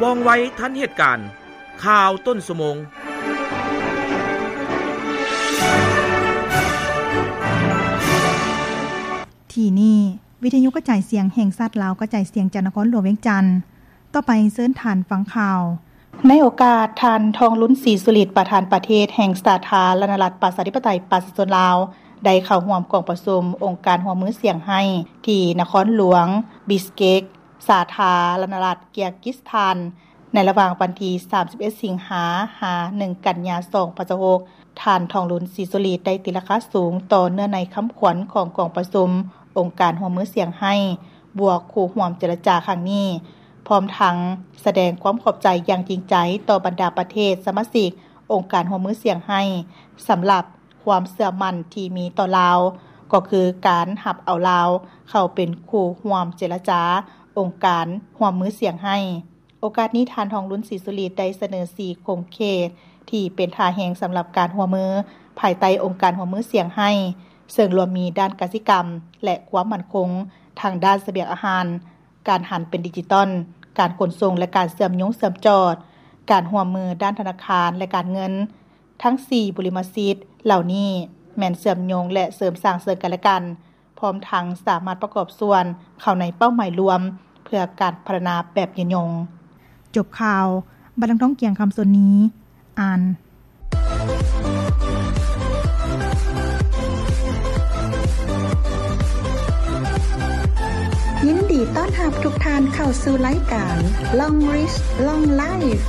ວ່ອງໄວທັນເຫດການ. ຂ່າວຕົ້ນຊົ່ວໂມງ. ທີ່ນີ້ ວິທະຍຸກະຈາຍສຽງແຫ່ງຊາດລາວ ກະຈາຍສຽງຈາກນະຄອນຫຼວງວຽງຈັນ. ຕໍ່ໄປເຊີນທ່ານຟັງຂ່າວ. ໃນໂອກາດທ່ານ ທອງລຸນ ສີສຸລິດ ປະທານປະເທດແຫ່ງສາທາລະນະລັດ ປະຊາທິປະໄຕ ປະຊາຊົນລາວ ໄດ້ເຂົ້າຮ່ວມກອງປະຊຸມອົງການຮ່ວມມືສຽງໄຮ້ ທີ່ນະຄອນຫຼວງບິສເກກ ສາທາລະນະລັດ ເກຍກິສຖານ ໃນລະຫວ່າງວັນທີ ສາມສິບເອັດ ສິງຫາ ຫາ ໜຶ່ງ ກັນຍາ ສອງພັນຊາວຫົກ. ທ່ານ ທອງລຸນ ສີສຸລິດ ໄດ້ຕີລາຄາສູງຕໍ່ເນື້ອໃນຄຳຂວັນຂອງກອງປະຊຸມອົງການຮ່ວມມືສຽງໄຮ້ ບວກຄູ່ຮ່ວມເຈລະຈາຄັ້ງນີ້, ພ້ອມທັງສະແດງຄວາມຂອບໃຈຢ່າງຈິງໃຈຕໍ່ບັນດາປະເທດສະມາຊິກອົງການຮ່ວມມືສຽງໄຮ້ ສຳລັບຄວາມເຊື່ອໝັ້ນທີ່ມີຕໍ່ລາວ, ກໍຄືການຮັບເອົາລາວເຂົ້າເປັນຄູ່ຮ່ວມເຈລະຈາອົງການຮ່ວມມືສຽງໄຮ້. ໂອກາດນີ້ ທ່ານ ທອງລຸນ ສີສຸລິດ ໄດ້ສະເໜີສີ່ຂົງເຂດທີ່ເປັນທ່າແຮງສຳລັບການຮ່ວມມືພາຍໃຕ້ອົງການຮ່ວມມືສຽງໄຮ້, ເຊິ່ງລວມມີດ້ານກະສິກຳ ແລະ ຄວາມໝັ້ນຄົງທາງດ້ານສະບຽງອາຫານ, ການຫັນເປັນດິຈິຕອນ, ການຂົນສົ່ງ ແລະ ການເຊື່ອມໂຍງເຊື່ອມຈອດ, ການຮ່ວມມືດ້ານທະນາຄານ ແລະ ການເງິນ. ທັງສີ່ບຸລິມະສິດເຫຼົ່ານີ້ແມ່ນເຊື່ອມໂຍງ ແລະ ເສີມສ້າງເຊິ່ງກັນແລະກັນ, ພ້ອມທັງສາມາດປະກອບສ່ວນເຂົ້າໃນເປົ້າໝາຍລວມເພື່ອການພັດທະນາແບບຍືນຍົງ. ຈົບຂ່າວ, ບັດນາງທອງກຽງ ຄຳສົນນີ ອ່ານ. ຍິນດີຕ້ອນຮັບທຸກທ່ານເຂົ້າສູ່ລາຍການ Long Reach Long Life.